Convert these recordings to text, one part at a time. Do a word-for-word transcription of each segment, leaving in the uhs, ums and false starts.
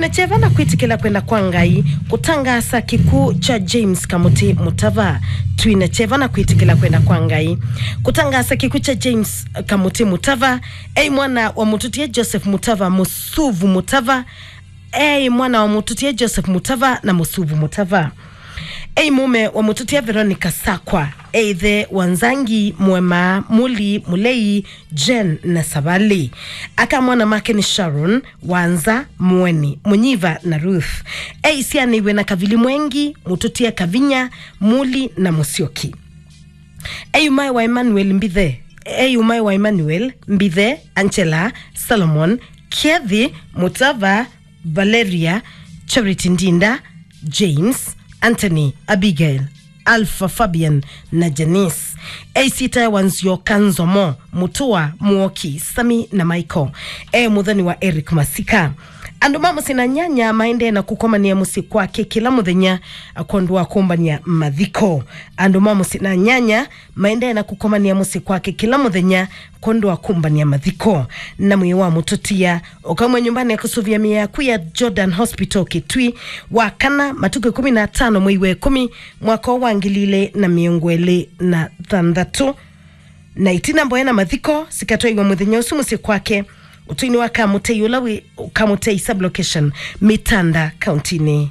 Na kyeva na kwĩtĩkĩla kwenda kwa Ngai kũtangaasa kĩkw'ũ kya James Kamuti Mutava. Twĩna kyeva na kwĩtĩkĩla kwenda kwa Ngai kũtangaasa kĩkw'ũ kya James Kamuti Mutava. Ei mwana wa mũtũtie Joseph Mutava, Mũsuvu Mutava. Ei mwana wa mũtũtie Joseph Mutava na Mũsuvu Mutava. Ei mũme wa mũtũtie Veronica Sakwa. Ei ĩthe wa Nzangi, Mwema, Muli, Mulei, Jen na Savali. Aka mwana make nĩ Sharon, Wanza, Mweni, Munyiva na Ruth. Ei syanĩw'e na Kavili Mwengi, mũtũtie Kavinya, Muli na Mũsyoki. Ei ũmae wa Emmanuel Mbithe. Ei ũmae wa Emmanuel Mbithe, Angela, Solomon, Kethi, Mutava, Valeria, Charity Ndinda, James, Anthony, Abigail, Alpha, Fabian na Janice. Ei sita wa Nzioka, Nzomo, Mutua, Muoki, Sami na Michael. E mũthoni wa Eric Masika. Andũ ma mũsyĩ na nyanya maendee na kũkomania mũsyĩ kwake kĩla mũthenya kwondũ wa kũmbania mathiko. Andũ ma mũsyĩ na nyanya maendee na kũkomania mũsyĩ kwake kĩla mũthenya kwondũ wa kũmbania mathiko. Na mwĩĩ wa mũtũtia ũkaumw'a nyũmbanĩ ya kũsũvĩa mĩĩ yaku ya Jordan Hospital Kitui wa kana, matukũ ĩkũmi na atano mwei wa ĩkũmi, mwaka wa ngili ilĩ na mĩongo ĩlĩ na thanthatũ. Na itina mboya na mathiko sikatwaiwa mũthenya ũsu mũsyĩ kwake, ũtũinĩ wa Kamũtei, ũla wĩ Kamũtei sublocation, Mitanda, kauntinĩ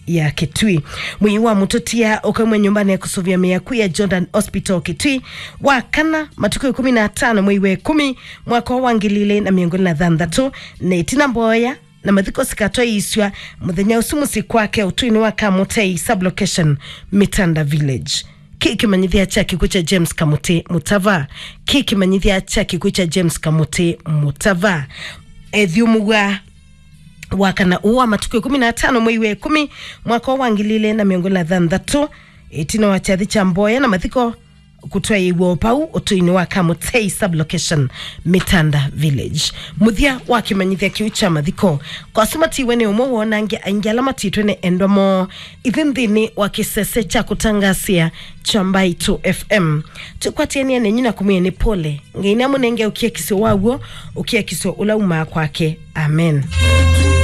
ya Kitui. Mwĩĩ wa mũtũtia ũkaumw'a nyũmbanĩ ya kũsũvĩa mĩĩ yaku ya Jordan Hospital Kitui wa kana, matukũ ĩkũmi na atano mwei wa ĩkũmi, mwaka wa ngili ilĩ na mĩongo ĩlĩ na thanthatũ, na itina mboya na mathiko sikatwaĩĩsw'a mũthenya ũsu mũsyĩ kwake, ũtũinĩ wa Kamũtei sublocation, Mitanda Village. Kĩ kĩmanyĩthya kya kĩkw'ũ kya James Kamuti Mutava. Kĩ kĩmanyĩthya kya kĩkw'ũ kya James Kamuti Mutava. Ethyũmũw'a wa kana ũũ wa matukũ ĩkũmi na atano mwei wa ĩkũmi, mwaka wa ngili ilĩ na mĩongo ĩlĩ na thanthatũ, ĩtina wa kyathĩ kya mboya na mathiko kũtwaĩĩw'a o pau ũtũinĩ wa Kamũtei sublocation, Mitanda Village. Mũthya wa kĩmanyĩthya kĩu kya mathiko, kwa asu matiwe nĩ ũmwe woo na angĩ aingĩ ala matitwe nĩ endwa moo. Ithyĩ nthĩnĩ wa kĩsese kya kũtangaasĩa kya Mbaitũ F M, tũkwatĩanĩa nenyu na kũmwĩa nĩ pole. Ngai nĩamũnenge ũkiakisyo wa w'o, ũkiakisyo ũla umaa kwake. Amen.